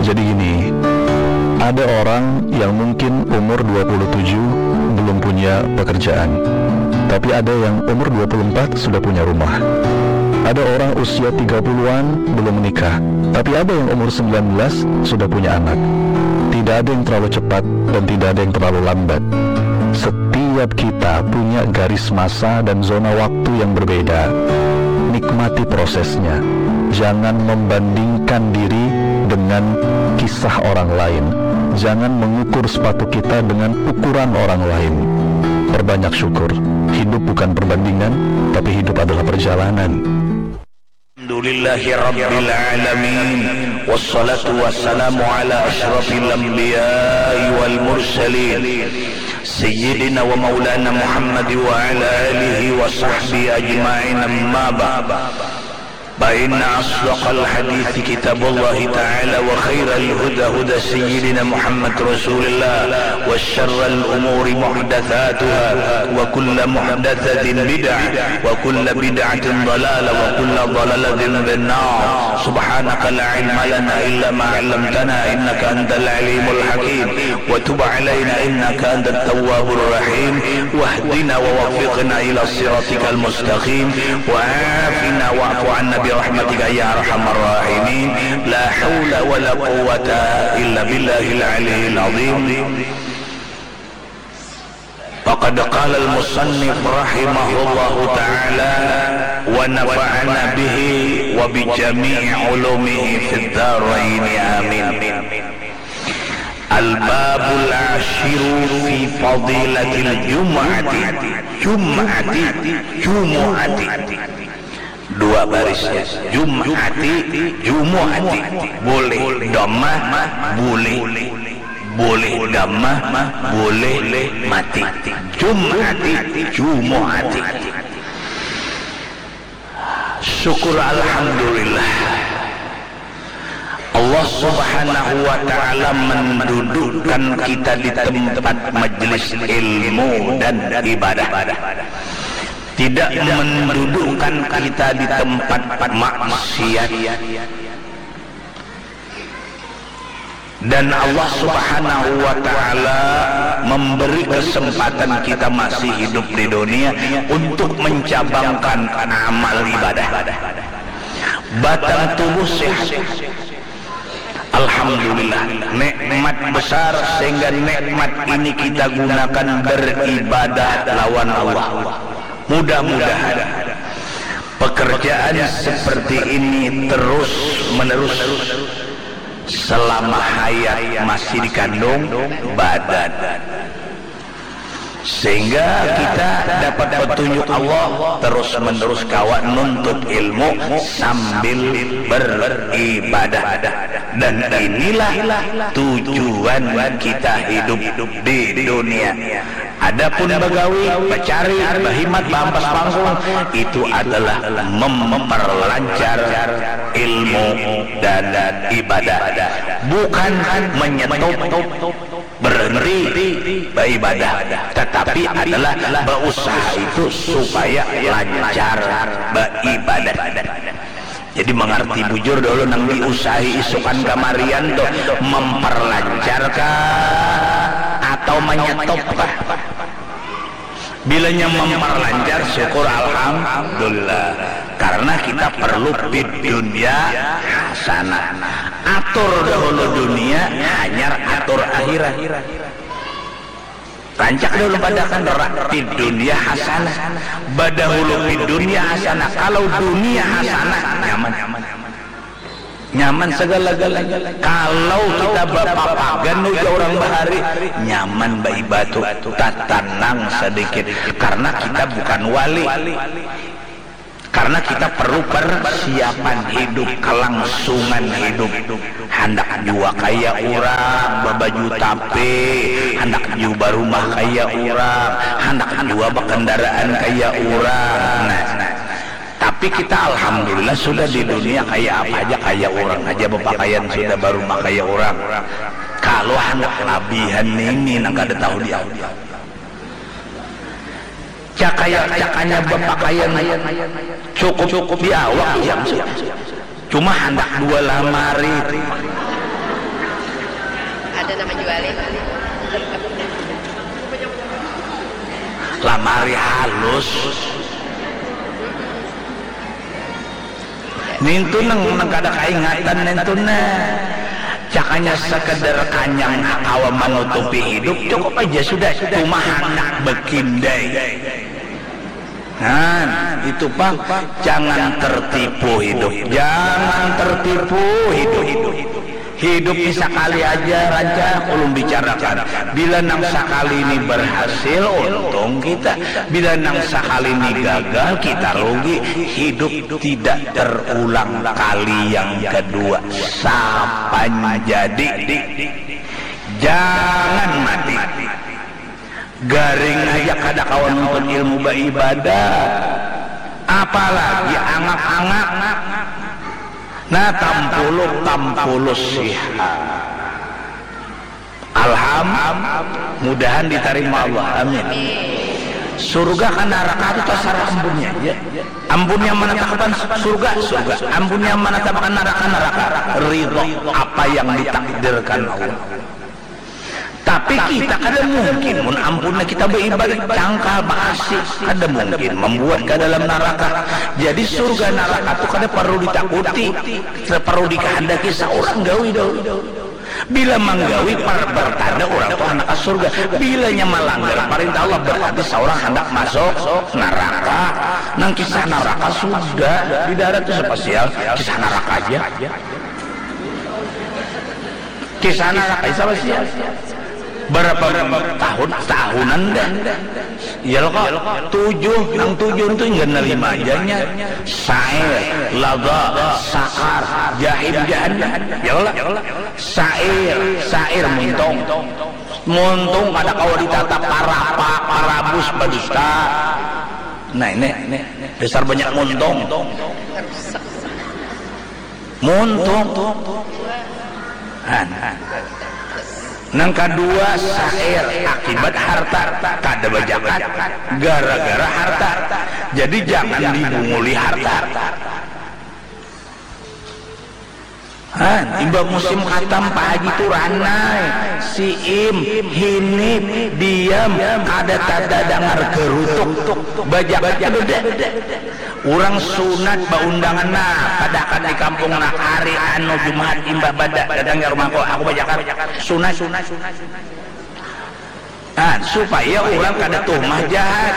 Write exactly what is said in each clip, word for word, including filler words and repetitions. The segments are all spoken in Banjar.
Jadi gini, ada orang yang mungkin umur dua puluh tujuh belum punya pekerjaan, tapi ada yang umur dua puluh empat sudah punya rumah. Ada orang usia tiga puluhan belum menikah, tapi ada yang umur sembilan belas sudah punya anak. Tidak ada yang terlalu cepat dan tidak ada yang terlalu lambat. Setiap kita punya garis masa dan zona waktu yang berbeda. Nikmati prosesnya. Jangan membandingkan diri dengan kisah orang lain. Jangan mengukur sepatu kita dengan ukuran orang lain. Perbanyak syukur. Hidup bukan perbandingan, tapi hidup adalah perjalanan. Alhamdulillahi rabbil alamin. Wassalatu wassalamu ala asyrafil anbiya'i wal mursalin. Sayyidina wa maulana Muhammad wa ala alihi wa sahbihi ajma'in, amma ba'd. Fa inna asdaqal hadithi kitabullahi ta'ala wa khairal huda huda sayyidina Muhammad Rasulillah wa syarral umuri muhdathatuha wa kulla muhdathatin bid'ah wa kulla bid'atin dalalah wa kulla dalalatin finnar. Subhanaka la ilma lana illa ma 'allamtana innaka antal alimul hakim. Wa tub alaina innaka antat tawwabur rahim. Wahdina wa waffiqna ila siratikal mustaqim. Wa afina wa'fu anna bi rahmatika ya arhamar rahimin. La haula wa la quwwata illa billahil aliyyil azim. Faqad qala al-musannif rahimahullahu ta'ala wa nafa'ana bihi wa bi jami'i ulumihi fid daraini, amin. Al-babul ashiru fi fadilatil jum'ati. Jum'ati, jumu'ati. Dua barisnya. Jum'ati, jumu'ati. Boleh dhammah, boleh. Boleh dhammah, boleh mati. Jum'ati, jumu'ati. Syukur alhamdulillah. Allah Subhanahu wa Ta'ala mendudukkan kita di tempat majelis ilmu dan ibadah. Tidak mendudukkan kita di tempat maksiat. Dan Allah Subhanahu wa Ta'ala memberi kesempatan kita masih hidup di dunia untuk mencabangkan amal ibadah. Batang tubuh sehat. Alhamdulillah, nikmat besar sehingga nikmat ini kita gunakan beribadah lawan Allah. Mudah-mudahan pekerjaan seperti ini terus menerus selama hayat masih dikandung badan. Sehingga kita dapat petunjuk Allah terus menerus kawa nuntut ilmu sambil beribadah. Dan inilah tujuan kita hidup di dunia. Adapun bagawi, bacari, bahimat, baampas pangkung, itu adalah memperlancar ilmu dan ibadah. Bukan menyetop berhenti beribadah, tetapi adalah berusaha itu supaya lancar beribadah. Jadi mengerti bujur dulu nang diusahi isukan kamarian tuh memperlancarkah atau menyetopkah? Bilanya memperlancar syukur alhamdulillah. Karena kita perlu fid dunya hasanah. Atur dahulu dunia, hanyar atur akhirat. Rancak dahulu padakan rak fid dunya hasanah. Badahulu fid dunya hasanah. Kalau dunia hasanah, nyaman. Nyaman segala-galanya. Kalau kita bapapagan ujar orang bahari, nyaman baibatu, tatanang sedikit. Karena kita bukan wali. Karena kita perlu persiapan hidup, kelangsungan hidup. Handak jua kaya urang, babaju tape, handak jua barumah kaya urang, handak jua bakendaraan kaya urang. Nah, tapi kita alhamdulillah sudah di dunia kaya apa haja kaya urang haja, bapakaian sudah barumah kaya urang. Kalu handak labihan nini nang kada tahu diapa. Cakaya-cakanya bapakaian cukup di awak iya. Cuma handak dua lamari. Lamari halus. Nintu nang, nang kada kaingatan nintu nah. Cakanya sekedar kanyang kawa manutupi hidup, cukup aja sudah cuma handak bekindai. Nah, itu pang, jangan tertipu hidup, jangan tertipu hidup. Hidup ni sakali aja, rancak ulun bicarakan. Bila nang sakali ini berhasil, untung kita. Bila nang sakali ini gagal, kita rugi. Hidup tidak terulang kali yang kedua. Sapan jadi. Jangan mati. Garing aja kada kawa nuntut ilmu baibadah, apalagi angak-angak. Nah, tampuluk tampulus siha. Alham, mudahan ditarima Allah. Amin. Surga ka naraka tu tasarah ampunnya aja. Ampun yang manatapkan surga, surga. Ampun yang manatapkan naraka, naraka. Ridho apa yang ditakdirkan Allah. Tapi kita kada mungkin mun ampunnya kita baibadat cangkal baasi, kada mungkin mambuat ka dalam naraka. Jadi surga naraka tu kada parlu ditakuti, kada parlu dikahandaki saurang gawi dahulu. Bila manggawi par bertanda urang tu handak ka surga. Bilanya malanggar parintah Allah berarti saurang handak masuk naraka. Nang kisah naraka sudah di darat tu spesial, kisah naraka aja. Kisah naraka isa pasti ya. Berapa tahun, tahunan dah. Ya lo kok, tujuh, nang tujuh tu enggak nerima ajanya. Sair, laga, sakar, jahim, jahannam. Ya lo lah. Sair, sair muntung. Muntung kada kawa ditata parapa, parabus badusta. Nah ini, dasar banyak muntung. Muntung. Nang kadua sair akibat harta, kada bajakat gara-gara harta. Jadi jangan dibunguli harta. Han, imbah musim katam Pak Haji tu ranai, siim, hinip, diam, kada tada dangar garutuk. Bajakat kada. Urang sunat baundangan nah, padahakan di kampung nah, hari anu Jumahat imbah bada datang ka rumahku, aku bajakat. Sunat. Nah, supaya urang kada tuhmah jahat.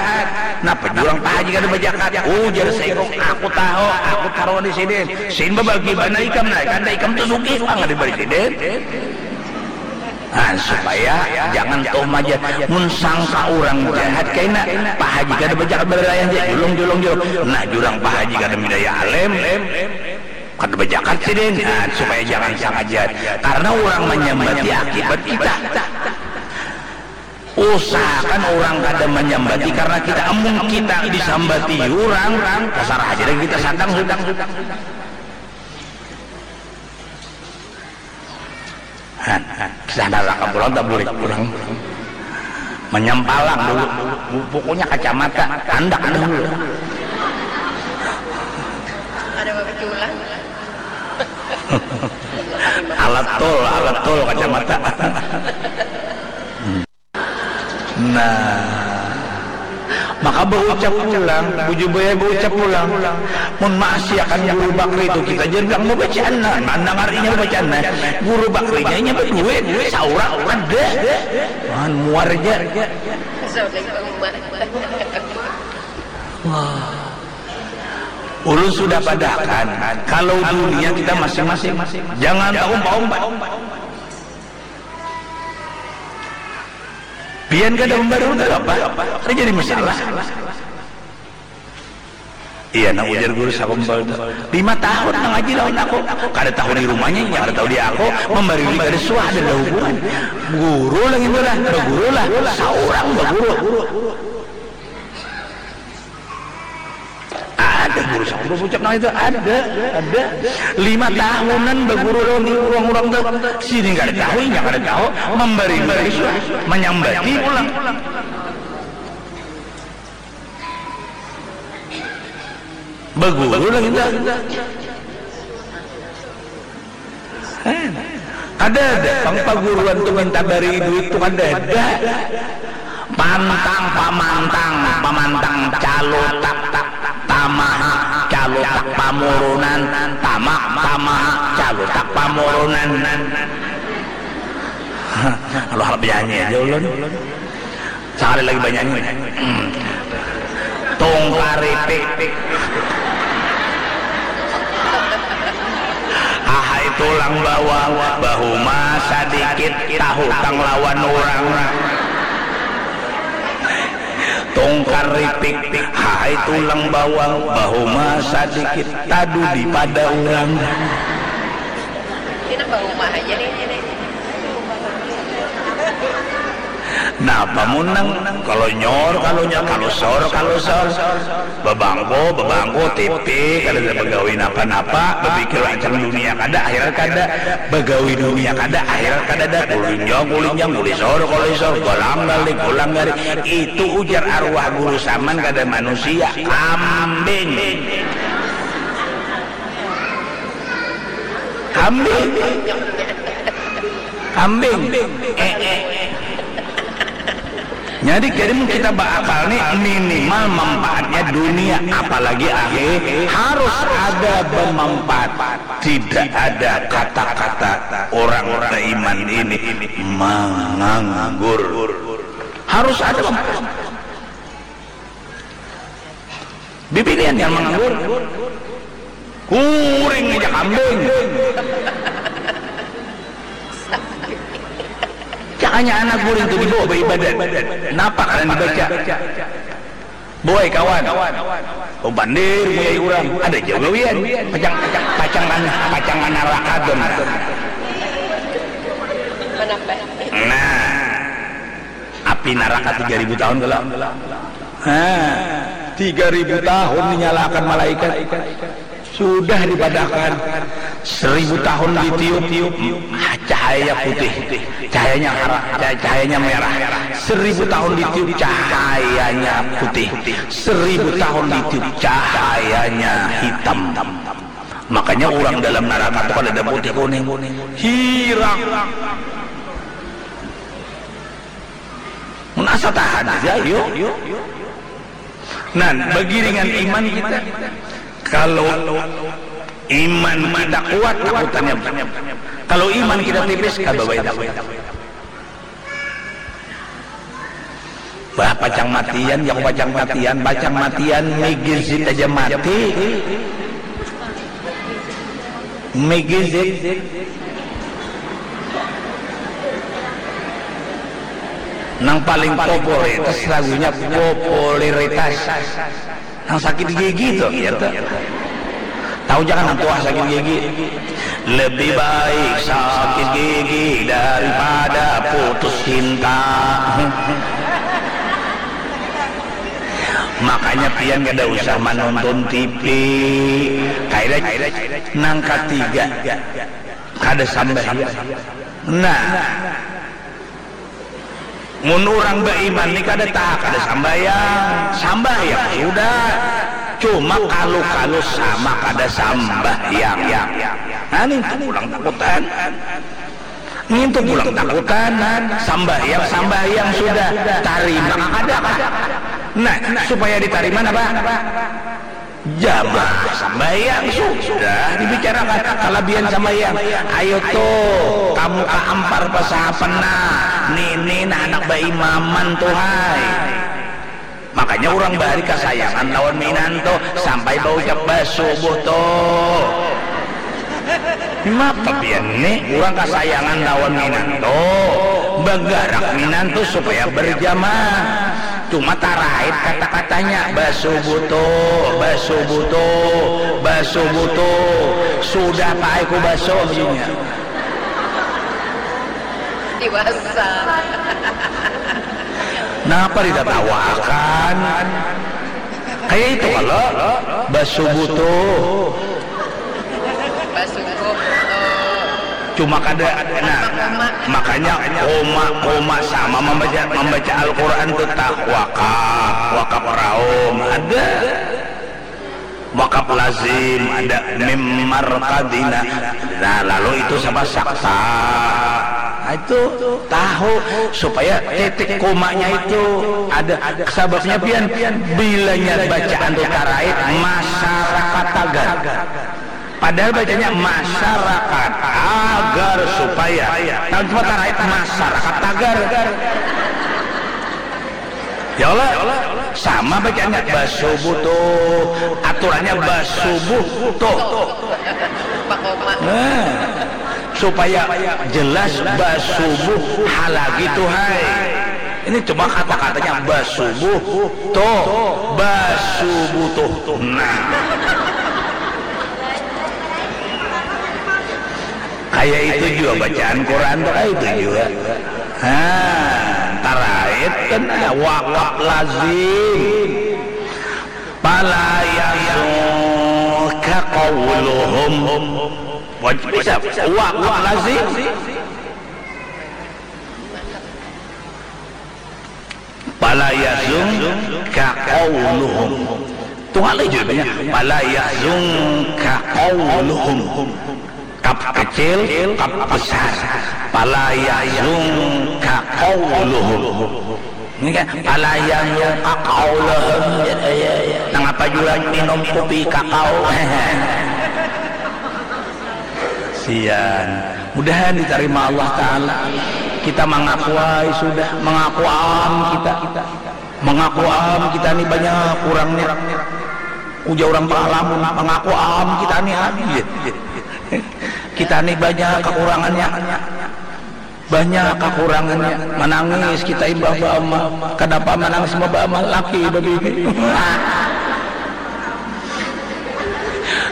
Napa jurang Pak Haji kada bajakat? Ujar saikung, aku tahu, aku taruhan di sidin. Sidin babagi banar ikam nah, kada ikam tu sugih pang kada dibari sidin. Nah, supaya jangan tuh maja mun sangka urang jahat kaina, Pak Haji kada bajakat baralayah ja, julung, julung, julung. Nah, jurang Pak Haji kada midaya alim, kada bajakat sidin. Nah, supaya jangan sangka jahat karena urang manyambati akibat kita. Usahakan urang kada manyambati karena kita, amun kita disambati urang, tasarah haja dah kita sadang sudah. Han, kisah naraka pulang tak boleh pulang. Manyampalang dulu. Pokoknya kacamata, handak dahulu. Ada babaki ulang. Alat tol, alat tol kacamata. Nah, maka baucap pulang, bujur baya baucap pulang, mun maasiakan Guru Bakri tu kita jar bilang babacaan nah, mandangarinya babacaan nah, Guru Bakrinya inya baduit, saurang kada, man muar ja. Wah. Ulun sudah padahakan, kalau dunia kita masing-masing, jangan taumpat-umpat. Pian kada membaru tu apa? Kada jadi masalah. Iya, nah ujar guru sakumpal tu. Lima tahun mangaji lawan aku. Kada tahu di rumahnya, inya kada tahu di aku. Membaru kada suah, ada hubungan. Guru lah gitu lah, baguru lah. Saurang baguru. Ada guru sampun babucap nang itu, ada, ada. Lima tahunan baguru lawan urang-urang tu. Sidin kada tahu, inya kada tahu, mambari guru suah, manyambati pulang. Baguru lagi tu. Kada ada pang paguruan tu minta bari duit tu, kada ada. Pantang, pamantang, pamantang, calutak, tamaha, calutak pamurunan, tamak, tamaha, calutak pamurunan. Aduh, harap nyanyi aja ulun. Sakali lagi banyanyi. Tungkaripik. Ahai tulang bawang, bahuma sadikit, tahutang lawan urang. Tungkaripik, ahai tulang bawang, bahuma sadikit, tadudi pada urang. Ini nang bahuma aja nih, ini. Napa mun nang kalonyor, kalonyor, kalusor, kalusor, babangko, babangko, tipi, kada ada bagawi napa-napa, bapikir macam dunia kada, akhirat kada, bagawi dunia kada, akhirat kada ada, kulinjang, kulinjang, kulisor, kulisor, golang gali, golang gali, itu ujar arwah guru saman kada manusia, kambing. Kambing. Kambing. Eh, eh. Jadi, jadi mun kita baakal nih, minimal manfaatnya dunia, apalagi akhir, harus ada bermanfaat. Tidak ada kata-kata orang beriman ini menganggur. Harus ada manfaat. Bibinian yang menganggur. Kuring aja kambing. Cakanya anak guring tu dibawa baibadat. Napa kalian dibaca? Boy kawan. Oh, bandir muyai urang. Ada jauh gawian. Pacang, pacang, pacang kan, pacang kan naraka tu nah. Nah. Api naraka tiga ribu tahun kalau. Nah, tiga ribu tahun dinyalakan malaikat. Sudah dipadahkan. Seribu tahun ditiup, cahayanya putih, cahayanya hara-, cah-, cahayanya merah. Seribu tahun ditiup, cahayanya putih. Seribu tahun ditiup, cahayanya hitam. Makanya orang dalam naraka tu kada ada putih kuning. Hirang. Mun asa tahan aja, yuk. Nah, bagiringan iman kita. Kalau iman kita kuat, takutannya. Kalau iman kita tipis, kada baik takut. Bah, pacang matian, yang pacang matian, pacang matian, migizit aja mati. Migizit. Nang paling popularitas lagunya popularitas. Nang sakit gigi tuh, ya tuh. Tahu jangan nang tuah sakit gigi. Lebih baik sakit gigi daripada putus cinta. Makanya pian kada usah menonton T V. Kaida nang katiga kada sambahyang. Nah, mun urang baiman ni kada taha kada sambahyang. Sambahyang sudah, cuma kalu-kalu sama kada sambahyang. Nah, nintu pulang takutan. Nintu pulang takutan. Sambahyang, sambahyang sudah, tarima kada kah? Nah, supaya ditarima napa? Jamaah sambahyang sudah dibicarakan, kalabihan sambahyang. Ayo tuh, kamu kaampar pasahapan nah, nini nah anak baimaman tuh hai. Makanya urang bahari kasayangan lawan minantu sampai baucap basubuh tuh. Mapa pian ni urang kasayangan lawan minantu, bagarak minantu supaya berjamaah. Cuma tarait kata-katanya, basubuh tuh, basubuh tuh, basubuh tuh. Sudah paai ku basuh inya. Diwasa. Napa ditatawakan? Kaya itu kalo, basubuh tuh. Basubuh tuh. Cuma kada, nah, makanya koma, koma sama mambaca, mambaca Al-Quran tuh tah wakaf, wakaf raum, ada. Wakaf lazim, ada mim marqadina. Nah, lalu itu sama sakta. Nah, itu tahu supaya titik komanya itu ada sababnya pian bilanya bacaan tu tarait masyarakat tagar. Padahal bacanya masyarakat agar supaya tahu cuma tarait masyarakat tagar. Ya Allah, sama bacanya basubuh tuh, aturannya basubuh tuh. Nah, supaya jelas basubuh halagi tuh hai. Ini cuma kata-katanya basubuh tuh, basubuh tuh. Nah. Kayak itu juga bacaan Quran tuh kayak itu juga. Nah, tarait kan wakaf lazim. Pala yahzunka qauluhum. Wajib bisa wakaf lazim. Pala yahzunka qauluhum. Tunggal aja banyak. Pala yahzunka qauluhum. Kap kecil, kap besar. Pala yahzunka qauluhum. Ini kan pala yahzunka qauluhum. Ya, ya, ya. Nang apa jua minum kopi kakao. Sian. Mudahan ditarima Allah Ta'ala. Kita mengaku ai sudah, mengaku am kita. Mengaku am kita ni banyak kurangnya. Ujar orang pengalaman, mengaku am kita ni am. Kita ni banyak kekurangannya. Banyak kekurangannya. Menangis kita imbah bama. Kenapa menangis imbah bama? Laki bebini.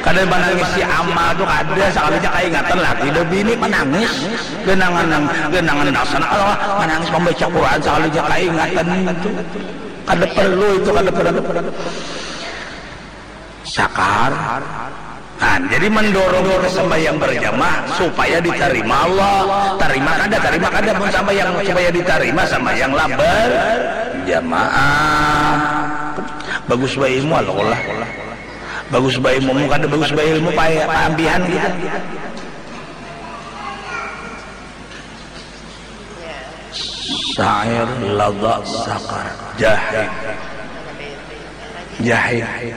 Kada manangis si ama tu kada, sakalinya kaingatan laki dah bini manangis. Genangan nang genangan dasar Allah manangis membaca Quran sakalinya kaingatan itu. Kada perlu itu, kada perlu. Sakar. Nah, jadi mendorong kita sembahyang berjamaah supaya diterima Allah. Terima kada, terima kada pun sembahyang supaya diterima sembahyang lah berjamaah. Bagus bae ilmu Allah. Bagus bae ilmu kada bagus bae ilmu paya paambihan kita. Syair lada sakar jahil. Jahil.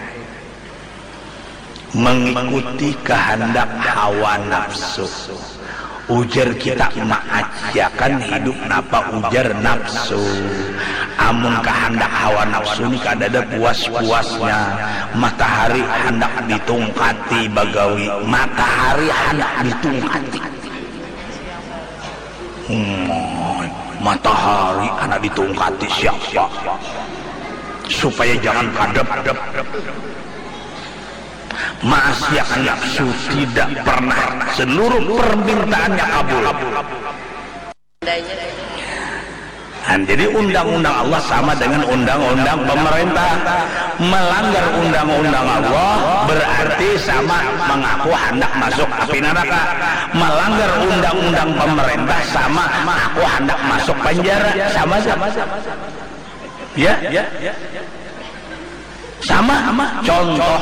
Mengikuti kehendak hawa nafsu. Ujar kita maajakan hidup napa ujar nafsu. Amun kahandak hawa nafsu ni kadada puas-puasnya. Matahari handak ditungkati bagawi. Matahari handak ditungkati. Hmm, matahari handak ditungkati siapa? Supaya jangan kadap. Maasiakan nafsu tidak pernah seluruh permintaannya kabul. Dan jadi undang-undang Allah sama dengan undang-undang pemerintah. Melanggar undang-undang Allah berarti sama mengaku hendak masuk api neraka. Melanggar undang-undang pemerintah sama mengaku hendak masuk penjara. Sama saja. Ya? Sama, contoh,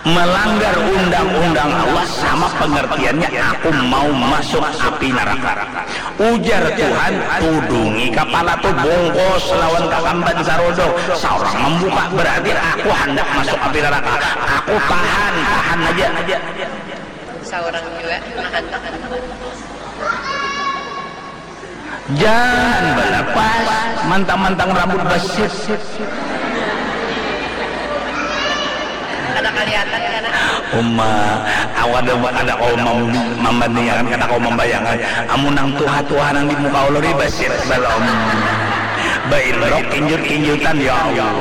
melanggar undang-undang Allah sama pengertiannya aku mau masuk api neraka. Ujar Tuhan, tudungi kapala tu bungkus lawan kakamban sarodo. Saurang membuka, berarti aku handak masuk api neraka. Aku tahan, tahan aja. Saurang jua nahan, tahan. Jangan balapas, mantang-mantang rambut basit. Kada kelihatan kana. Uma, awak ada kada kau membandingakan, kada kau membayangkan. Amun nang tuha-tuha nang di muka ulur ini basit balom. Bailok kinjut-kinjutan ya Allah.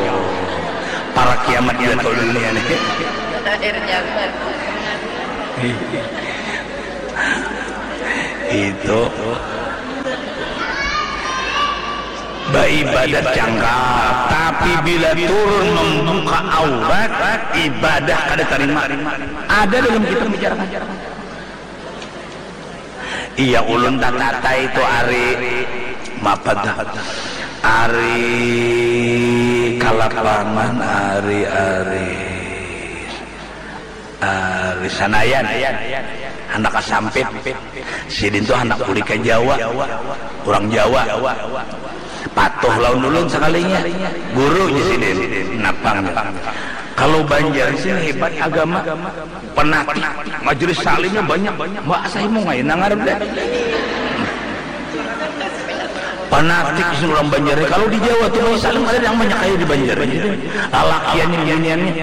Para kiamat jatuh dunia nih. Akhir zaman. Itu baibadat jangka, tapi bila turun membuka aurat, ibadah kada terima. Ada dalam kitab bicara. Iya ulun tatata itu ari mapa dah? Ari kalapangan ari ari Di Sanayan, handak ka Sampit. Sidin tu handak bulik ka Jawa, urang Jawa. Patuh lawan ulun sakalinya. Guru, jar sidin. Napa, jar. Kalau Banjar di sini hebat agama. Panatik, majelis taklimnya banyak. Mbak, asa himung ai, nang ngarep dah. Panatik di sini urang Banjar. Kalau di Jawa tu majelis taklim kada nang banyak kaya di Banjar. Lalakiannya, biniannya.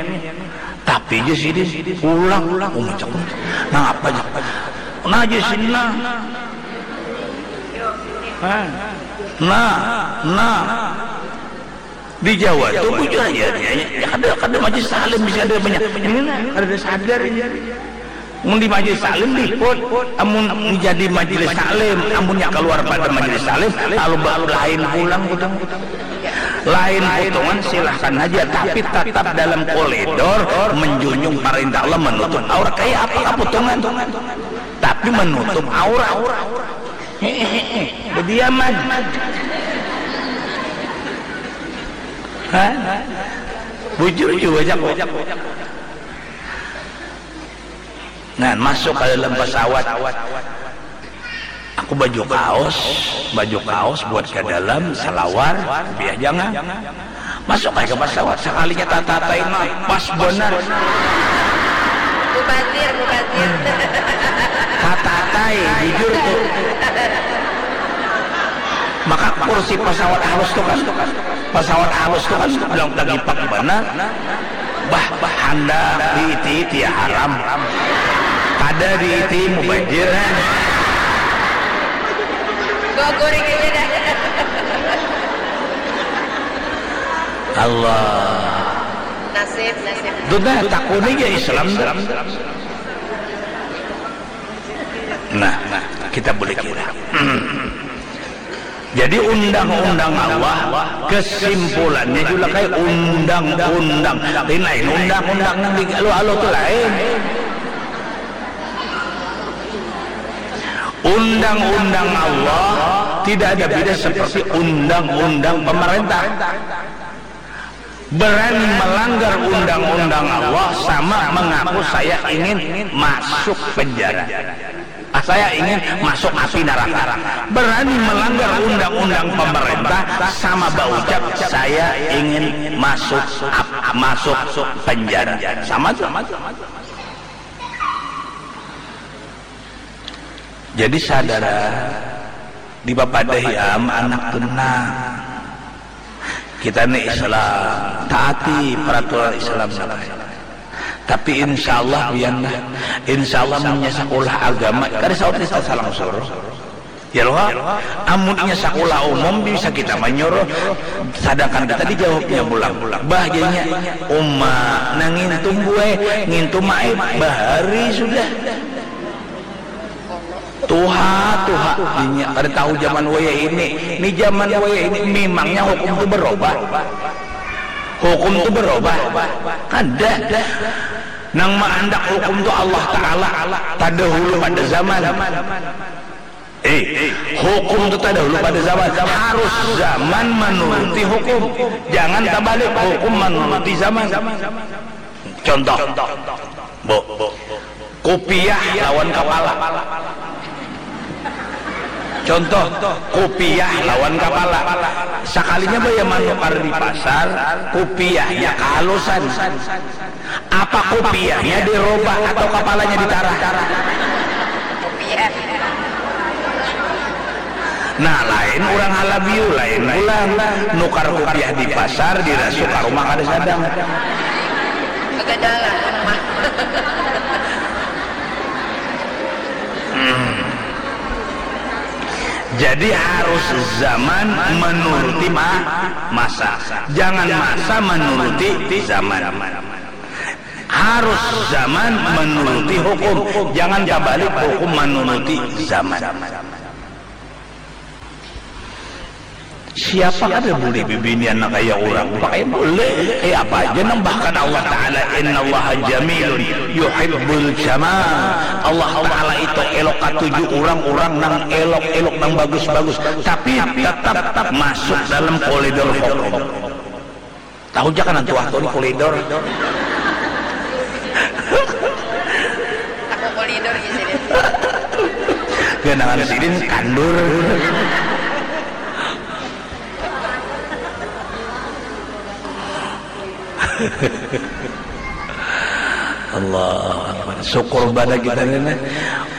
Tapi jar sidin, pulang. Oh, macam nangapa, jar. Nah, jar sidin, nah. Nah, nah. Di Jawa tu bujur aja, ya, ya, kada, kada majelis taklim bisa ada banyak. Ini nah, kada ada sadar ini. Mun di majelis taklim liput, amun jadi majelis taklim, amunnya keluar pada majelis taklim, lalu ba-, lain pulang putungan. Lain putungan silahkan aja, tapi tetap dalam koridor menjunjung perintah Allah, menutup aurat. Kayak apa putungan? Tapi menutup aurat. Hehehe, bediaman. Hah? Bujur jua, jak. Nah, masuk ka dalam pesawat. Aku baju kaos, baju kaos buat ka dalam, salawar, kupiah jangan. Masuk ai ka pesawat, sakalinya tatatai, nah, pas banar. Mubadir, mubadir. Tatatai, bujur tu. Maka kursi pesawat halus tu kan, pesawat halus tu kan, bilang tagipak banar. Bah, bah, handak diiti-iti ya haram. Kada diiti mubajir, nah. Bawa goreng aja dah. Allah. Nasib, nasib. Duh, nah, takuni ja Islam tu. Nah, kita boleh kira. Jadi undang-undang Allah, kesimpulannya juga kayak undang-undang. Lain, lain undang-undang nang di alu-alu tu lain. Undang-undang Allah tidak ada beda seperti undang-undang pemerintah. Berani melanggar undang-undang Allah sama mengaku saya ingin masuk penjara. Ah, saya ingin masuk api neraka. Berani melanggar undang-undang pemerintah sama berucap saya ingin masuk ap-, masuk penjara. Sama tu. Jadi sadar, dipapadahi am anak tu nah. Kita ni Islam, taati peraturan Islam sabaik. Tapi insya Allah, pian lah. Insya Allah, munnya sakulah agama, kada saut kita salang suruh. Ya loh, amunnya sakulah umum bisa kita manyuruh, sadangkan kita dijawabnya pulang. Bah, jadinya, uma, nang ngintum buai, ngintum aib, bahari sudah. Tuha, tuha, inya kada tahu zaman wayah ini. Ni zaman wayah ini, memangnya hukum tu berubah? Hukum tu berubah? Kada. Nang maandak hukum tu Allah Ta'ala, tadahulu pada zaman. Eh, hukum tu tadahulu pada zaman. Harus zaman manuruti hukum. Jangan tabalik, hukum manuruti zaman. Contoh, Bu, kupiah lawan kapala. Contoh, kupiah lawan kapala. Sakalinya baya manukar di pasar, kupiahnya kahalusan. Apa kupiahnya dirobah atau kapalanya ditarah? Kupiah. Nah, lain urang Halabiu, lain pulang. Nukar kupiah di pasar, dirasuk ka rumah kada sadang. Begadang lah rumah. Hmm. Jadi harus zaman menuruti ma-, masa. Jangan masa menuruti zaman. Harus zaman menuruti hukum. Jangan tabalik hukum menuruti zaman. Siapa kada bulih bibinian nang kaya urang? Pakaian bulih. Kaya apa haja nang, bahkan Allah Ta'ala, "Innallaha jamilun yuhibbul jamal." Allah Ta'ala itu elok katuju urang-urang nang elok-elok, nang bagus-bagus. Tapi tatap masuk dalam koridor hukum. Tahu ja kan antu waktu ni koridor. Ganangan sidin kandur. Allah Akbar. Syukur pada kita ini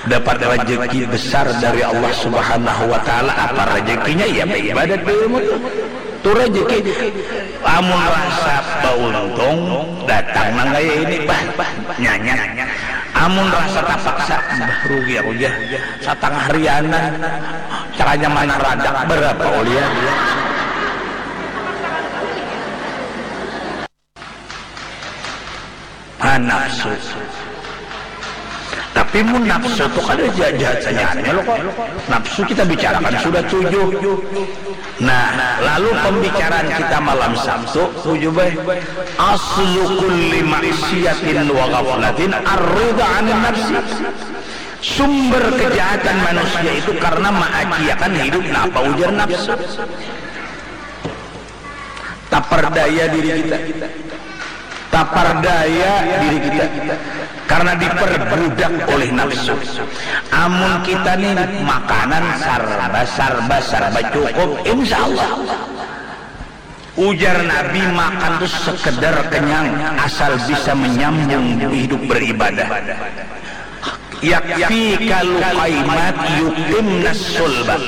dapat rezeki besar dari Allah Subhanahu wa Ta'ala. Apa rezekinya? Ya, ibadat dulu. Tuh rezeki. Amun rasa bauntung, datang nang kaya ini, bah, bah, nyanyi. Amun rasa tapaksa, bah, rugi aku, ya. Satangah rianan, caranya mana radak, berapa ulian? Ha, nafsu. Tapi mun nafsu tu kada jahat-jahat sajaannya lo kok. Nafsu kita bicarakan sudah tujuh. Nah, lalu pembicaraan kita malam Sabtu, tujuh bae. Aslu kulli maksiatin wa ghaflatin ar-ridha anin nafsi. Sumber kejahatan manusia itu karena maaciakan hidup napa ujar nafsu. Taperdaya diri kita. Taperdaya diri kita karena diperbudak oleh nafsu. Amun kita nih makanan sarba sarba sarba cukup, insya Allah. Ujar Nabi, makan tuh sekedar kenyang asal bisa menyambung hidup beribadah. Yakfi kalu kaimat yukim nasulba.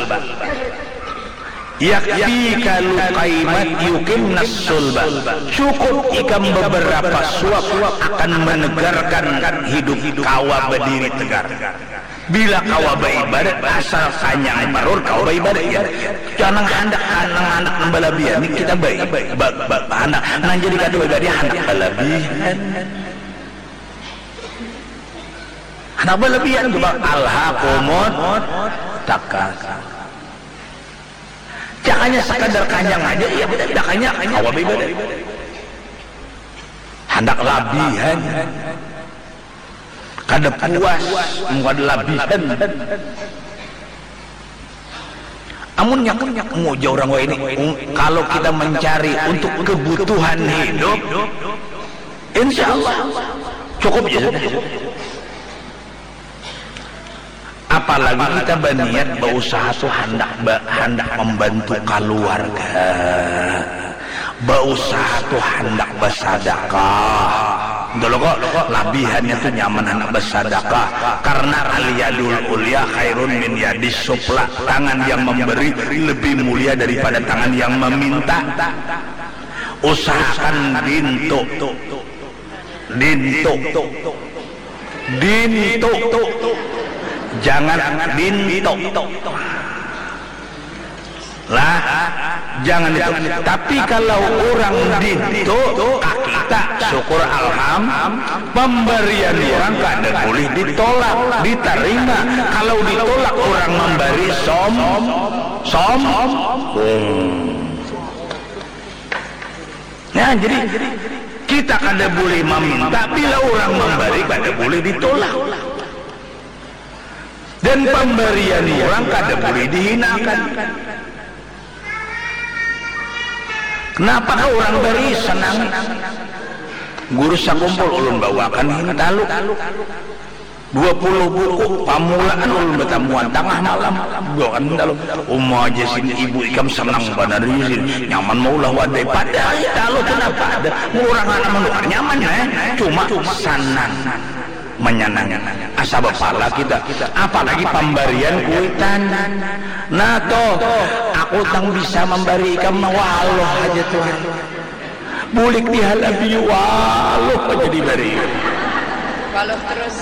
Yakfi kalu kaimat yukim nasulba. Cukup ikam beberapa suap akan menegarkan hidup kawa berdiri tegar. Bila kawa beribadat, asal kanyang parut kawa beribadat ya. Jangan handak, handak, handak balabihan ini kita baik, baik, baik, baik, handak. Nah, jadi kada baik dia handak balabihan. Handak balabihan tu bang alhakumut takasur. Jangannya sekadar kanyang aja, iya benar, dah kanyang, kawa beribadat. Handak labihan. Kada puas, mun kada labihan. Amunnya, amunnya, muja urang wahini, um, kalau kita mencari untuk kebutuhan hidup, insya Allah cukup ya sudah. Apalagi kita baniat bausaha tu handak ba, handak membantu kaluarga. Bausaha tu handak basadakah. Dulu kok labihannya tu nyaman handak basadakah karena al yadul ulya khairun min yadis sufla. Tangan yang memberi lebih mulia daripada tangan yang meminta. Usahakan dintu. Dintu. Dintu. Jangan dintu. Lah, jangan itu. Tapi kalau urang dintu ka kita, syukur alham, pambarian urang kada bulih ditolak, ditarima. Kalau ditolak urang mambari som, som, hmm. Nah, jadi kita kada bulih maminta bila urang mambari kada bulih ditolak. Dan pambarian urang kada bulih dihinakan. Kenapa kah urang bari senang? Guru sakumpul ulun bawakan hintalu. Dua puluh buku pamulaan ulun batamuan tangah malam. Bawakan hintalu. Uma aja sin ibu ikam senang banar Yusin. Nyaman maulah wadai. Padahal hintalu tu napa ada. Urang anak manukar nyaman eh. Cuma sanang. Manyanangi. Asa bapala kita. Apalagi pambarian kuitan. Nah toh, aku tang bisa mambari ikam waluh haja tuh. Bulik dihalabi waluh haja dibari. Waluh terus.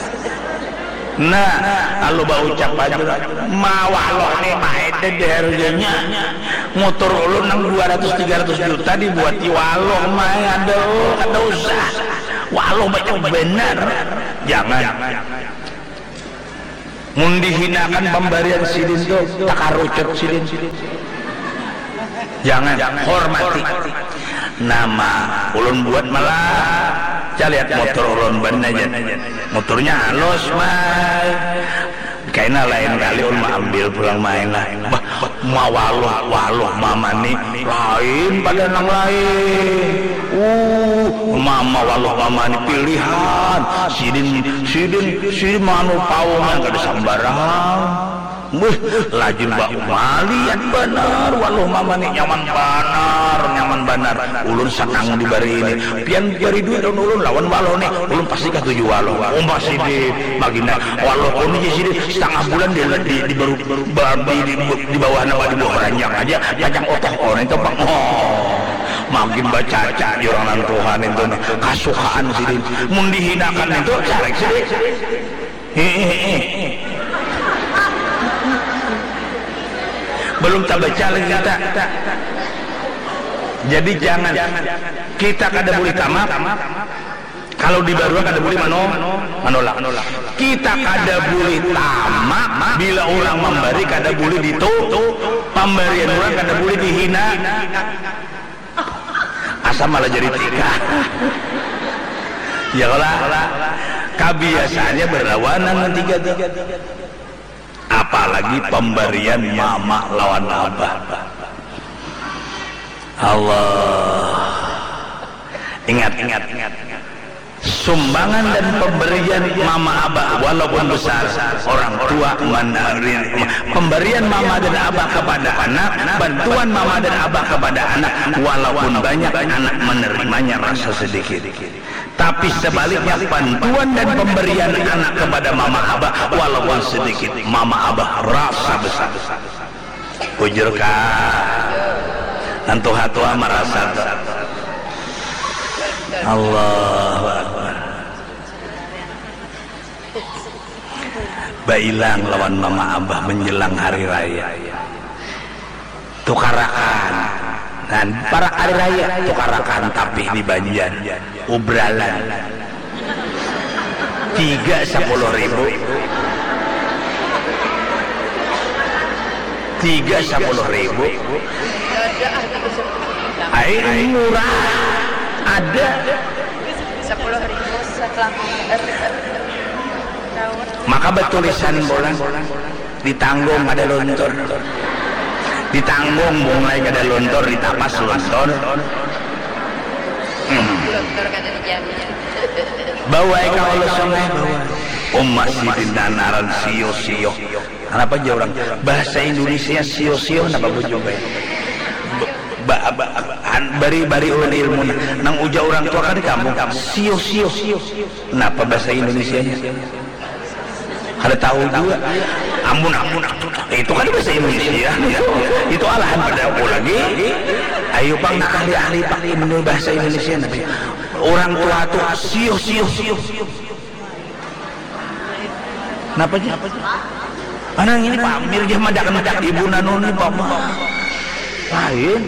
Nah, lalu baucap aja lah. Ma waluh nih maeda deh harganya. Motor ulun nang dua ratus tiga ratus juta dibuati waluh mai ada kada usah. Waluh banyak benar. Jangan. Mun dihinakan pambarian sidin tu takarucut sidin. Jangan, hormati. Nama ulun buat malah caliat motor ulun ban aja. Motornya halus mai. Kaina lain kali ulun ambil pulang main lah. Bah, Mawaluh-waluh mama ni lain pada nang lain. Uh, mama waluh mama ni pilihan. Sidin, sidin, sidin manu pawungan kada sambarang. Wih, lajun ba maliat banar waluh mama ni, nyaman banar, nyaman banar. Ulun sanang dibari ini. Pian bari duit lawan ulun lawan waluh ni, ulun pasti katuju waluh. Umpah sidin, magina waluh kuni ja sidin, setangah bulan di, di, di baru Ba- di, di, di bawah napa, di bawah ranjang aja pacang otoh orang itu pang. Oh, makin bacaca di orang nan tuhan itu nih. Kasukaan sidin mun dihinakan itu carek sidin. Hihihi. Belum tabaca lagi kita. Jadi jangan, kita kada boleh tamak. Kalau dibarua kada boleh mano, manolak. Kita kada boleh tamak bila orang memberi, kada boleh ditu. Pemberian orang kada boleh dihina. Asa malah jadi tikah. Ya kala, kabiasaannya berlawanan tiga-tiga. Apalagi pemberian mama lawan abah. Allah. Ingat, ingat, ingat. Sumbangan dan pemberian mama abah walaupun besar, orang tua menerima. Pemberian mama dan abah kepada anak, bantuan mama dan abah kepada anak, walaupun banyak, anak menerimanya rasa sedikit. Tapi sebaliknya, bantuan dan pemberian anak kepada mama abah walaupun sedikit, mama abah rasa besar. Bujur kah? Nang tuha-tuha marasa tu. Allahu Akbar. Bailang lawan mama abah menjelang hari raya. Tukarakan. Nah, parak hari raya, tukarakan tapih di banjar. Ubralan. Tiga sepuluh ribu. Tiga sepuluh ribu. Ai, murah. Ada. Sepuluh ribu setelah, eh, eh, eh, tahun. Maka batulisan bulan. Ditanggung kada luntur. Ditanggung bunglai kada luntur, ditapas luntur. Hmm. Luntur kada dijamin. Bawa ai ka hulu sungai, bawa. Uma sidin nanaran sio-sio. Kenapa aja orang bahasa Indonesia sio-sio, kenapa bujung bae? Ba, ba, ba, an, bari, bari ulun ilmu nah. Nang ujar orang tua kan di kampung, sio-sio. Kenapa bahasa Indonesianya? Kada tahu juga. Amun, amun, amun. Itu kan bahasa Indonesia. Itu, itu alahan pada aku lagi. Ayo pang, nak ahli-ahli pang Indo-, bahasa Indonesia. Tapi orang tua tuh sio, sio, sio. Kenapa sih? Anak ini pamir dia madak-madak ibu nanu ni pama. Lain.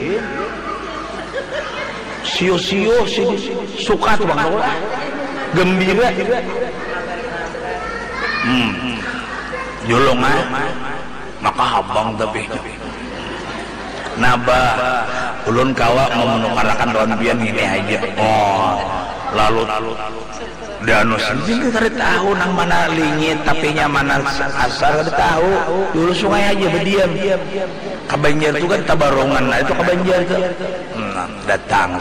Sio-sio si suka tuh bang lah. Gembira. Hmm. Julung ah. Maka habang tapi. Nabah, ulun kawa memenukarakan lawan pian ngini haja. Oh, lalu danu sidin kada tahu nang mana lingit tapinya mana asar kada tahu. Dulu sungai haja bediam. Ka Banjar tu kan tabarungan, nah itu ka Banjar tu. Nah, datang.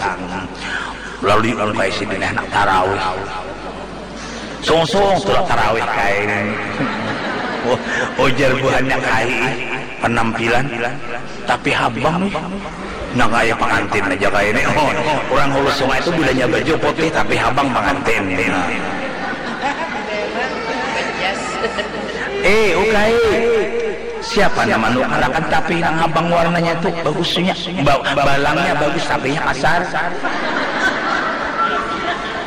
Lalu diungkai sidin handak tarawih. Sungsung tu lah tarawih kain. Ujar buhannya kai penampilan tapi habang nih. Nah kaya pengantin aja kayak ini. Oh, orang hulu sungai itu bilanya baju putih tapi habang pengantin. Nah. Eh, ukai. Siapa nama nukarakan tapi nang habang warnanya tu bagusnya. Ba balangnya bagus tapi kasar.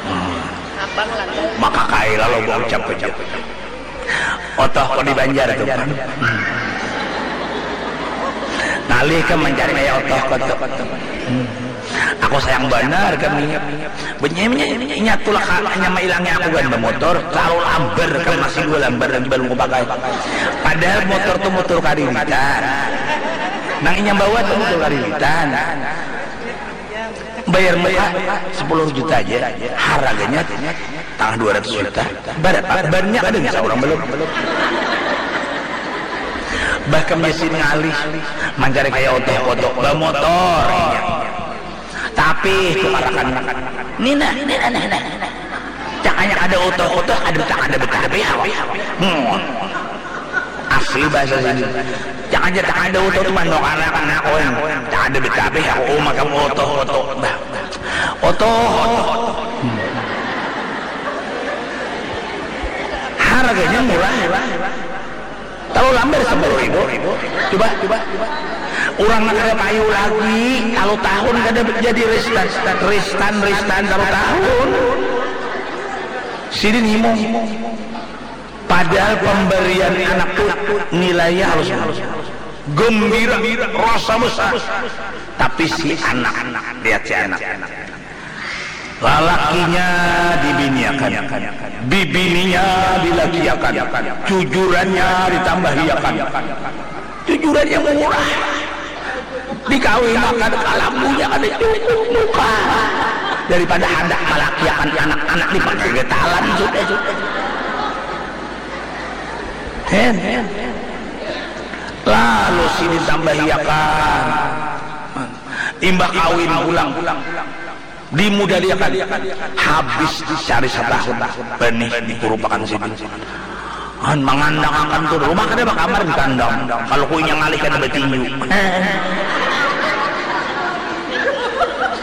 Hmm. Maka kai lalu baucap-ucap. Otoh ko di Banjar tu. Ngalih ke mencari kaya otoh ko tu. Aku sayang banar kami. Benyanya inya tulah ka nyama ilangnya aku kan bemotor, terlalu lambar kan masih dua lambar lagi belum kupakai. Padahal motor tu motor kariritan. Nang inya bawa tu motor kariritan. Bayar muka sepuluh juta aja, harganya tangah dua ratus juta. Berapa? Banyak ada bisa orang belum. Bah kam jasin ngalih mancari kaya otoh kotoh bamotor inya. Tapi tukarakan nina nina nina. Cakanya kada otoh kotoh kada tak ada betabe awak. Hmm. Asli bahasa sini. Cakanya tak ada otoh tu manukarakan aku yang tak ada betabe aku uma kam otoh kotoh bah. Otoh kotoh. Hmm. Harganya murah. Tahu lambar sepuluh ribu. Coba, coba. Orang nak ada payu lagi, kalau tahun kada jadi ristan, ristan, ristan kalau tahun. Sidin himung. Padahal pemberian anak tu nilainya harus gembira, rasa besar. Tapi si anak, lihat si anak. Lalakinya dibiniakan, bibininya dilakiakan, cujurannya ditambahiakan. Cujurannya murah. Dikawinakan kalambunya kada cukup muka. Daripada handak malakiakan anak-anak dipakai getalan sudah sudah. Hen. Lalu sini tambahiakan. Imbah kawin pulang. Dimudaliakan habis dicari satahun benih dikurupakan sidin. Han mangandangakan tu rumah kada bakamar di kandang. Kalau ku inya ngalih kada batinju.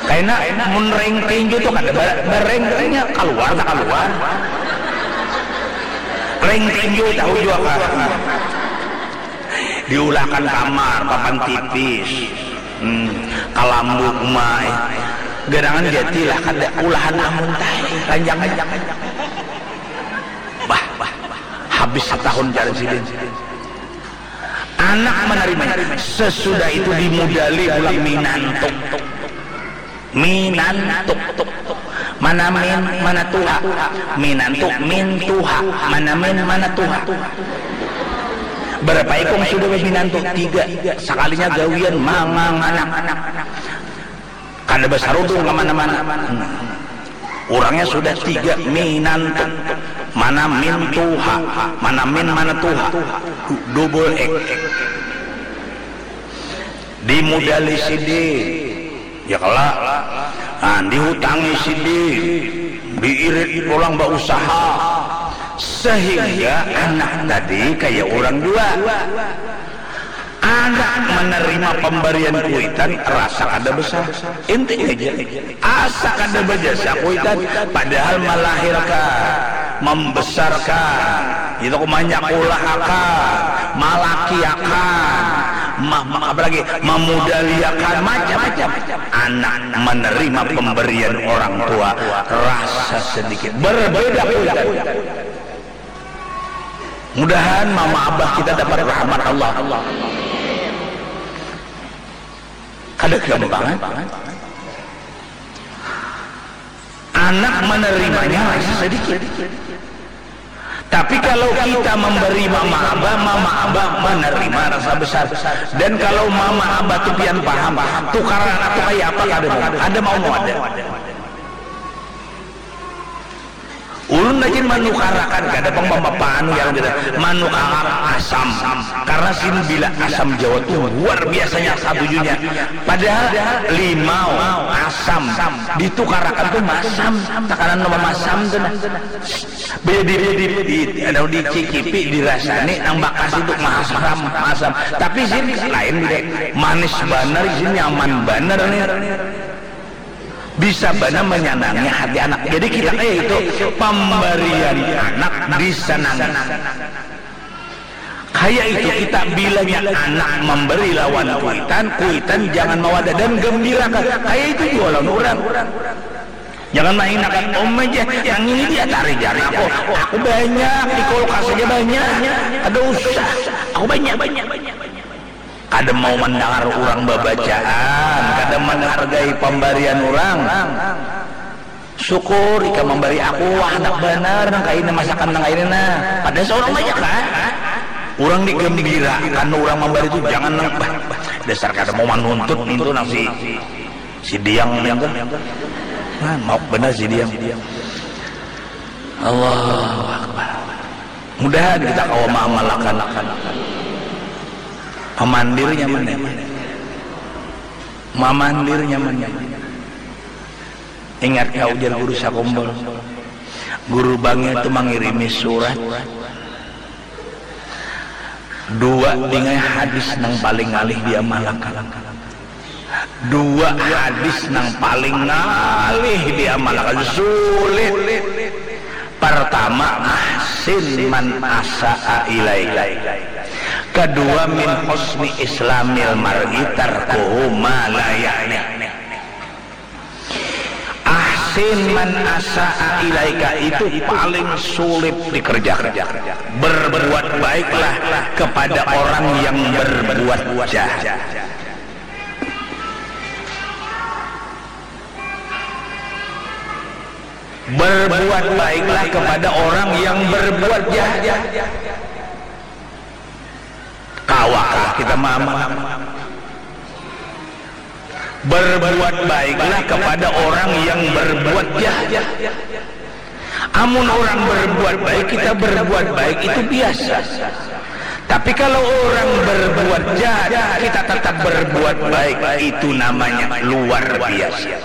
Kaina mun ring tinju tu kada ba- bareng ringnya kaluar tak kaluar. Ring tinju tahu jua kah? Diulahkan kamar papan tipis. Hmm, kalambu umai. Gerangan jati lah kada ulahan amun tai ranjang. Bah, bah, bah. Habis setahun jalan sidin. Anak menerimanya. Sesudah itu dimudali pulang minantu. Minantu. Mana min, mana tuha. Minantu, min tuha. Mana min, mana tuha. Berapa ikung sudah minantu? Tiga. Sekalinya gawian manganganak. Kada basarudung ka mana-mana. Hmm. Urangnya sudah tiga minantu. Mana min tuha, mana min mana tuha. Double X. Dimudali sidin. Ya kala. Nah, dihutangi sidin. Diirit pulang bausaha. Sehingga anak tadi kaya urang jua. Anak menerima pemberian kuitan rasa kada besar. Inti aja. Asa kada bejasa kuitan padahal melahirkan, membesarkan, itu manyakulahakan, malakiakan, ma- ma- apa lagi memudaliakan macam-macam. Anak menerima pemberian orang tua rasa sedikit berbeda kuitan. Mudahan mama abah kita dapat rahmat Allah. Kada gampang. Anak menerimanya rasa sedikit. Tapi kalau kita memberi mama abah, mama abah menerima rasa besar. Dan kalau mama abah tu pian paham, tukar anak tu kayak apa kada mau, kada mau mau ada. Ulun lagi manukarakan kada pang bapa anu yang kita manukarakan asam karena sini bila asam Jawa tuh luar biasanya satujunya padahal limau asam ditukarakan tuh masam takanan nama masam tuh nah bedi bedi di ada dicicipi dirasani nang bakas itu masam masam tapi sini lain beda manis banar sini nyaman banar nih Bisa banar manyanangi hati anak. Jadi kita kaya itu pambarian anak disanangi. Kaya itu kita bilanya anak mambari lawan kuitan, kuitan jangan mawada dan gambirakan. Kaya itu jua lawan urang. Jangan mahinakan, uma ja nang ini dia tari jar aku. Aku banyak di kulkas aja banyak. Kada usah. Aku banyak banyak. Kada mau mandangar urang babacaan, kada manghargai pambarian urang. Syukur ikam mambari aku, wah handak banar nang kaina masakan nang kaina nah. Kada saurang banyak kah? Urang digambirakan urang mambari tu jangan nang bah, bah, dasar kada mau manuntut nintu nang si si Diang nintu. Nah, mauk banar si Diang. Allahu Akbar. Mudahan kita kawa maamalakan. Mamandir nyaman ya. Mamandir nyaman ya. Ingat kau ujar guru sakumpul. Guru bangil tu mangirimi surat. Dua dingai hadis nang paling ngalih diamalakan. Dua hadis nang paling ngalih diamalakan. Sulit. Pertama, ahsin man asa'a ilaika. Kedua, min husni islamil mar'i tarkuhu ma la ya'ni. Ahsin man asa'a ilaika itu paling sulit dikerjakan. Berbuat baiklah kepada orang yang berbuat jahat. Berbuat baiklah kepada orang yang berbuat jahat. Kawa kita mama. Berbuat baiklah kepada orang yang berbuat jahat. Amun orang berbuat baik, kita berbuat baik itu biasa. Tapi kalau orang berbuat jahat, kita tetap berbuat baik, itu namanya luar biasa.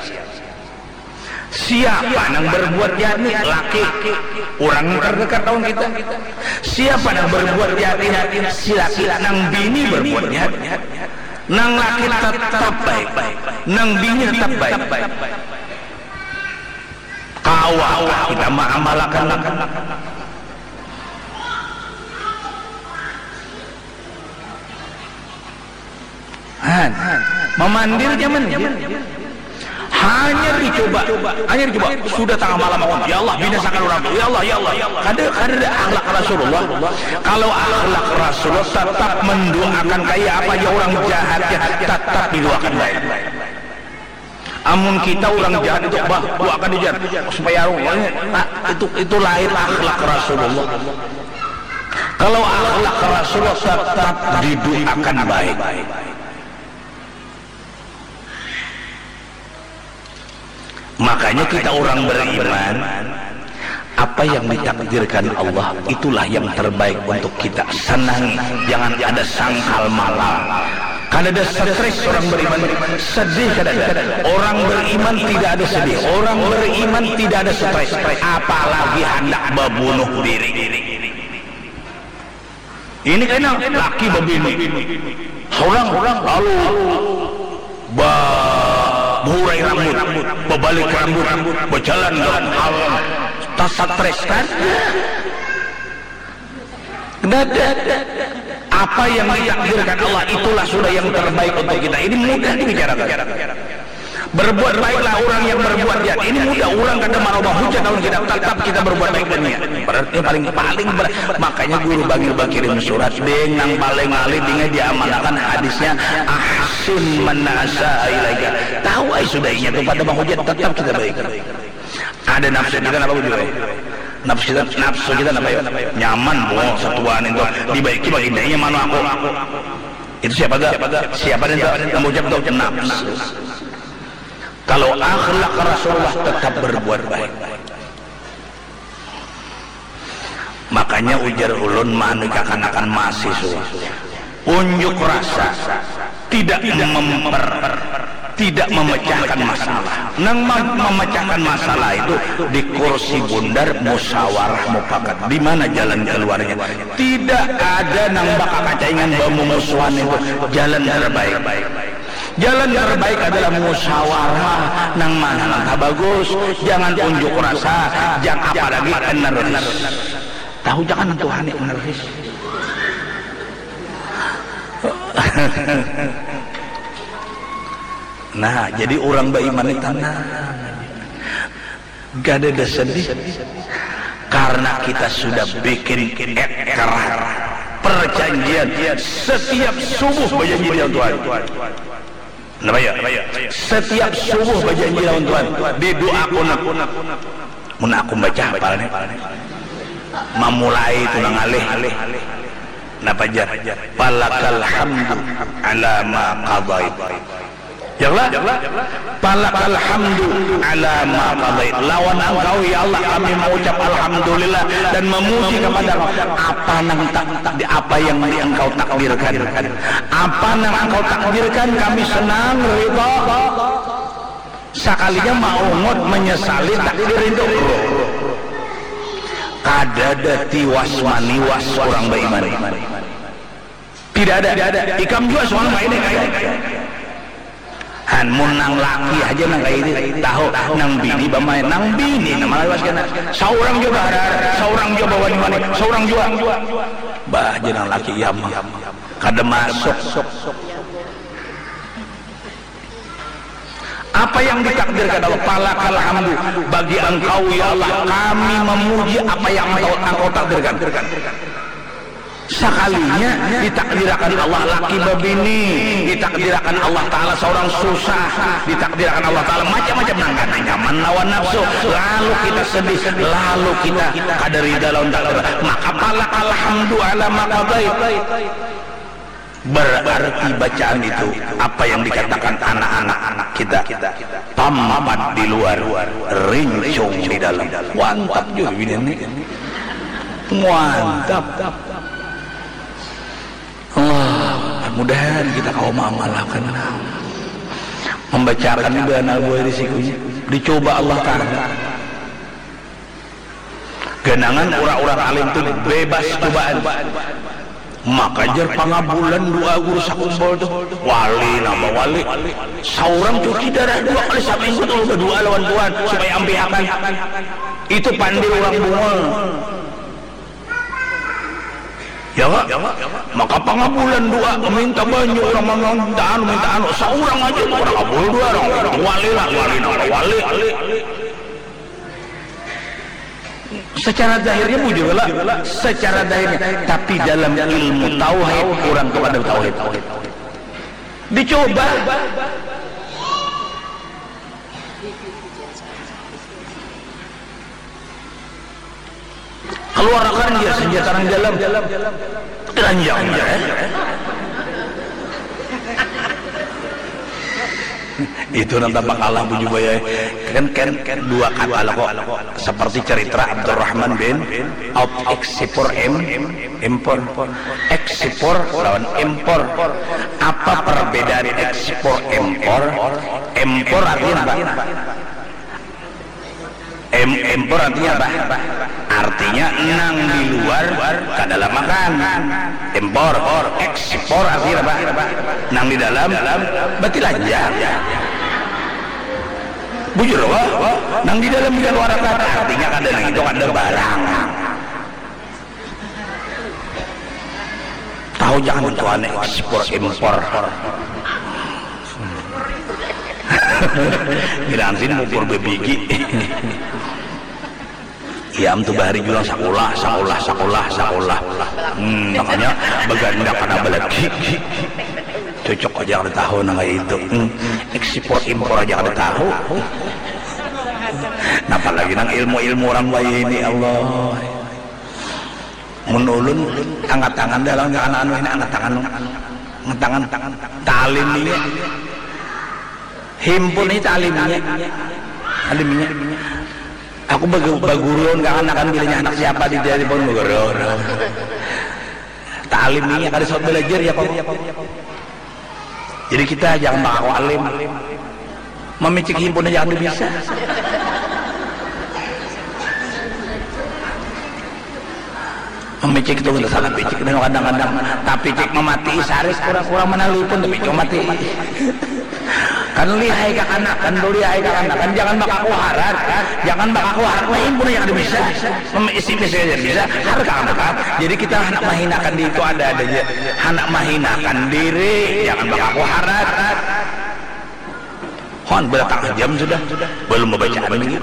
Siapa nang berbuat jahat ni? Laki. Orang yang terdekat lawan kita. Siapa nang berbuat jahat ni? Si laki. Nang bini berbuat jahat. Nang laki tetap baik. Nang bini tetap baik. Kawa kita maamalakan. Han, mamandir nyaman. Hanyar dicoba, hanyar dicoba. Sudah tangah malam aku, ya Allah, binasakan urang tu. Ya Allah, ya Allah. Kada, kada ada akhlak Rasulullah. Kalau akhlak Rasulullah, tetap mendoakan kaya apa aja urang jahatnya, tetap didoakan baik. Amun kita urang jahat itu, bah, doakan dijahat supaya arung. Nah, itu, itu lain akhlak Rasulullah. Kalau akhlak Rasulullah, tetap didoakan baik. Makanya kita orang beriman, apa yang ditakdirkan Allah, itulah yang terbaik untuk kita. Senangi, jangan ada sangkal malam. Kada ada stres orang beriman, sedih kada ada. Orang beriman tidak ada sedih, orang beriman tidak ada stres, apalagi hendak membunuh diri. Ini kena laki babini. Seorang lalu ba behurai rambut, babalik rambut, berjalan dalam hal tasatreskan. Dada. Apa yang ditakdirkan Allah, itulah sudah yang terbaik untuk kita. Ini mudah dibicarakan. Berbuat baiklah orang yang berbuat jahat. Ini mudah, orang kada marubah hujat lawan kita, tetap kita berbuat baik dan niat. Berarti paling, paling ber-, makanya guru bangil bakirim surat, deng, nang paling ngalih dingai diamalakan hadisnya, ahsin man asaa ilaika. Tahu ai sudah inya tu pada mahujat, tetap kita baik. Ada nafsu kita napa bujur ai? Nafsu kita, nafsu kita napa ya? Nyaman bo satuan itu, dibaiki baginda inya manu aku. Itu siapa ga? Siapa nih tu? Nang ucap tu nafsu. Kalau akhlak Rasulullah, tetap berbuat baik. Makanya ujar ulun, manu kakanakan mahasiswa, unjuk rasa, tidak memper, tidak memecahkan masalah. Nang mem-, memecahkan masalah itu di kursi bundar, musyawarah mufakat. Di mana jalan keluarnya? Tidak ada nang bakakacaingan bamumusuhan itu jalan terbaik. Jalan terbaik adalah musyawarah, nang mana langkah bagus, jangan unjuk rasa, jang apalagi eneris. Tahu jangan nang Tuhan ni eneris. Nah, jadi orang beriman ni tenang. Kada ada sedih. Karena kita sudah bikin ikrar, perjanjian, setiap subuh bajanji dengan Tuhan. Napa ya? Setiap subuh bajanji lawan Tuhan, didoakan. Mun aku baca hafal nih. Mamulai tu nang ngalih. Napa jar? Falakal hamdu ala ma qadait. Jala, falakal hamdu ala ma qadait. Lawan Engkau, ya Allah, kami mengucap alhamdulillah dan memuji kepada Engkau. Apa nang tak, di apa yang di Engkau takdirkan? Apa nang Engkau takdirkan, kami senang, ridha. Sakalinya maungut, menyesali takdir itu. Kadada tiwas maniwas urang baiman. Tidak ada. Ikam jua suang baini kaya. Han, mun nang laki haja nang kaya ini tahu, nang bini bamain, nang bini nang malawas kena. Saurang jua baharar, saurang jua bawani-wani, saurang jua. Bah, aja nang laki iya mah. Kada masuk. Apa yang ditakdirkan Allah, falakal hamdu, bagi Engkau, ya Allah, kami memuji apa yang Engkau, Engkau takdirkan. Sakalinya ditakdirakan Allah laki babini, ditakdirakan Allah Ta'ala seorang susah, ditakdirakan Allah Ta'ala macam-macam nang kada nyaman lawan nafsu, lalu kita sedih, lalu kita kada rida lawan takdir, maka falakal hamdu ala ma qadait. Berarti bacaan itu apa yang dikatakan anak-anak kita, tampat di luar, rincung di dalam. Mantap juga bini ini. Mantap. Allah, mudahan kita kawa maamalakan. Membacakan ini banar buai risikonya. Dicoba Allah Ta'ala. Ganangan urang-urang alim tu bebas cobaan. Maka jar pangabulan doa guru sakumpul tu. Wali napa wali. Saurang cuci darah dua kali saminggu tu badua lawan Tuhan supaya ampihakan. Itu pandir urang bungul. Ya, Pak? Maka pangabulan doa, minta banyu urang, minta anu, minta anu. Saurang aja tu urang kabul doa, urang wali lah, wali napa wali. Secara zahirnya bujur lah, secara zahirnya. Tapi dalam ilmu tauhid, urang tu kada tauhid. Dicoba. Keluarakan dia senjata nang dalam. Telanjang, eh. Itu nang tampak Allah bujur baya. Kan, kan, kan dua kata lah kok. Seperti cerita Abdurrahman bin Auf, eksipor em, impor. Eksipor lawan impor. Apa perbedaan eksipor impor? Impor artinya apa? Em, impor artinya apa? Artinya nang di luar kada lah makan. Impor, ekspor artinya apa? Nang di dalam batilanjang. Bujur apa? Nang di dalam dikaluarakan artinya kada nang itu kada barang. Tahu jangan tuan ekspor impor. Bilang sin mupur bebigi. Iam tu bahari julang sakulah, sakulah, sakulah, sakulah. Hmm, makanya baganda kana balaki. Cocok aja kada tahu nang kaya itu. Hmm, ekspor impor aja kada tahu. Napa lagi nang ilmu-ilmu orang bayi ini, Allah. Mun ulun angkat tangan dah lawan anak anu ini, angkat tangan, angkat tangan, talim ini, himpun ini talim ini, talim ini. Aku bagu- bagurun kekanakan bilanya anak siapa di dari pun bagurun. Talim ini kada sempat belajar ya kok. Jadi kita jangan mengaku alim. Memicik himpun aja kada bisa. Memicik itu kada salah picik. Dan kadang-kadang tapi cik memati saris kurang-kurang menelpon tapi cuma mati. Kan lihai kekanakan, tuh lihai kekanakan. Jangan bakaku harat, jangan bakaku harat. Nah, himpun aja kada bisa. Memicik aja bisa. Harga anak. Jadi kita hendak menghinakan diri itu ada-ada aja. Hendak mahinakan diri, jangan bakaku harat. Hon, berapa jam sudah? Belum bacaan lagi.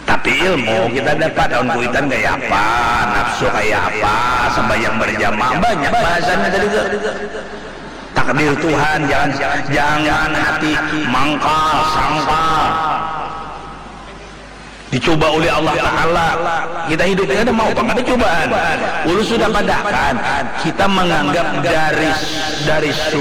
Tapi ilmu kita dapat, daun kuitan kaya apa, nafsu kaya apa, sembahyang berjamaah, banyak bahasanya tadi tu. Takdir Tuhan, jangan jangan hati mangkal, sangkal. Dicoba oleh Allah Ta'ala. Kita hidup ini ada mau apa? Ada cobaan. Ulun sudah padahakan, kita menganggap dari dari